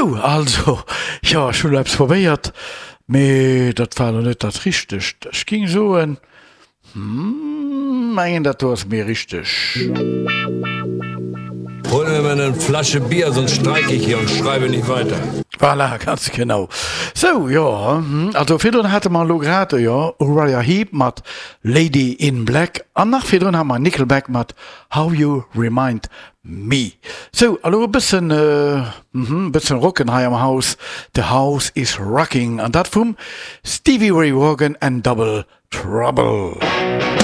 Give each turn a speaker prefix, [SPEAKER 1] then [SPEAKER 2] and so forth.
[SPEAKER 1] Sou, also, jo, ech hunn elo eppes probéiert, mee dat war elo net dat Richtegt. Ech géing soen, hm, mengen dat do ass méi richteg.
[SPEAKER 2] Hol mir mal nen Flasche Bier, sonst streik ich hier und schreibe nicht weiter.
[SPEAKER 1] Voilà, ganz genau. Sou, jo, also virdrun hate mer elo grad, jo, Uriah Heep mat Lady in Black an nach virdrun hate mer Nickelback mat How You Remind Me. Sou, a lo e bëssen, mhm, e bëssen rocken hei am Haus, The House is Rocking, an dat vum Stevie Ray Vaughan and Double Trouble.